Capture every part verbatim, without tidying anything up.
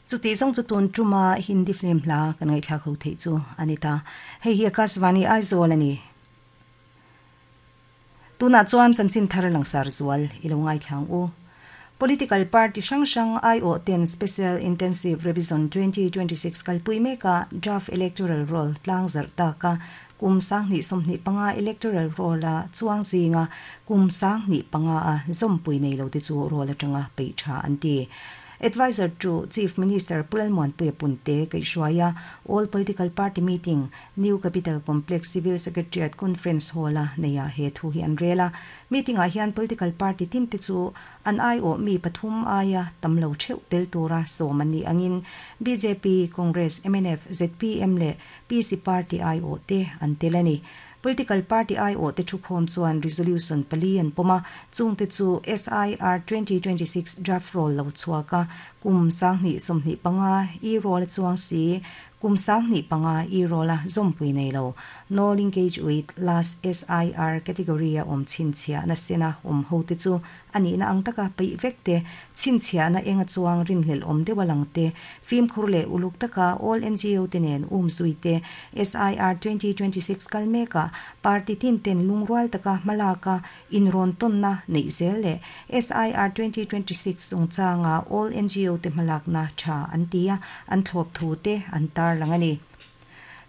Chuti zong chu tun tuma Hindi film hla kan ngai thla kho thei chu anita. Hei hi Akashvani Aizawl ani. Tuna chuan chanchin thar langsar zual ilo ngai thlang u. Political party hrang hrang I O ten Special Intensive Revision twenty twenty-six kalpui meka draft electoral roll tlang zar taka kum sang ni somni panga electoral roll a chuang zinga kum sang ni panga a zompui nei lo te chu roll atanga pei tha anti. Advisor to Chief Minister Pulalmuan Puyapunte Kaishwaya All Political Party Meeting New Capital Complex Civil Secretariat Conference Hall a neia he thu hi an rela. Meeting a hian political party tin te chu an ai o mi pathum aya tamlo theu tel tura somani angin B J P, Congress, M N F, Z P M le P C Party I O te an telani. Political party I O te thu khom chuan resolution pali an poma chung te chu S I R twenty twenty-six draft roll lo chuaka kum sang ni somni panga e roll chuang si kum sang ni panga e roll a zompui nei lo no linkage with last S I R category a om chin chia na sena om ho te chu ani na ang taka pai vek te chin chia na enga chuang rin hlel om dewalang te film khurle uluk taka all N G O te nen um zui te S I R twenty twenty-six kalmeka party tin ten lungrual taka malaka in ron ton na nei zel le S I R twenty twenty-six ungchanga all N G O te malak na tha antia an thlop thu te an tar langani.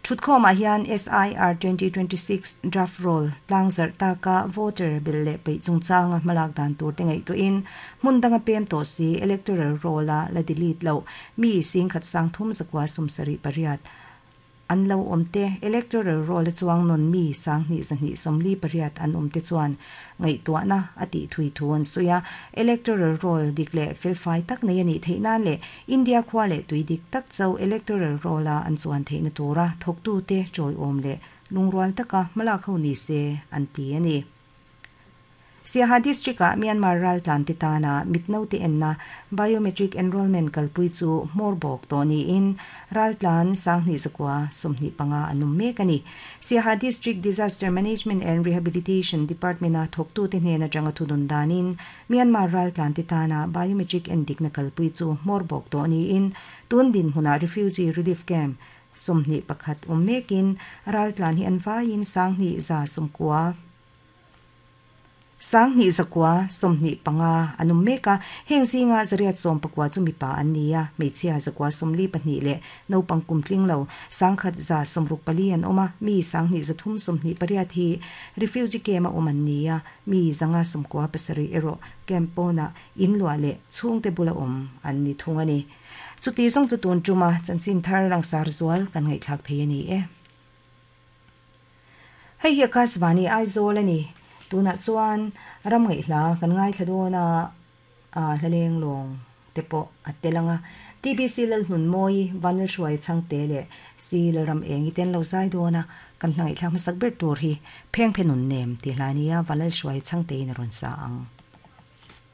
Thutkhoma hian S I R twenty twenty-six draft roll tlangzar taka voter bill le pei chungchanga malak dan tur te ngai tu in mundanga pem to si electoral roll a la delete lo mi sing khat sang thum zakwa sumsari pariat an lo omte electoral roll chuang non mi sang ni zani somli pariat an omte chuan ngai to na ati thui thuan suya electoral roll dikle felfai tak nei ani theina le India khwale tui dik tak chau electoral roll a an chuan theina tura thoktu te choi om le lungrual taka mala kho ni se an ti ani. Siaha District a Myanmar ral tlan ti tana mitno ti enna biometric enrollment kalpui chu morbok to ni in ral tlan sangni zakwa somni panga anum mekani. Siaha District Disaster Management and Rehabilitation Department a thoktu te hnena changa thudun danin Myanmar ral tlan ti tana biometric endik na kalpui chu morbok to ni in tundin huna refugee relief camp somni pakhat ummekin ral tlan hi anwain sangni za somkwa sang ni zakwa somni panga anum meka heng zinga zariat som pakwa chumi pa ania meichia zakwa somli pahni le no pangkum tling lo sangkhat za somruk pali an oma mi sang ni zathum somni pariat hi refugee camp a oman nia mi zanga somkwa pasari ero campona inlwa le chungte bula om an ni thungani chuti song chu tun chuma chanchin thar lang sar zual kan ngai thak thei ani e. Hei hi Akashvani Aizawl ani. Tuna chuan ram ngai hla kan ngai thladona a hlaleng long tepo atelanga T B C lal hun moi vanal hruai changte le si ram engi ten lo zai dona kan hlangai thlang masak ber tur hi pheng phenun nem ti hlania vanal hruai changte in ron sa ang.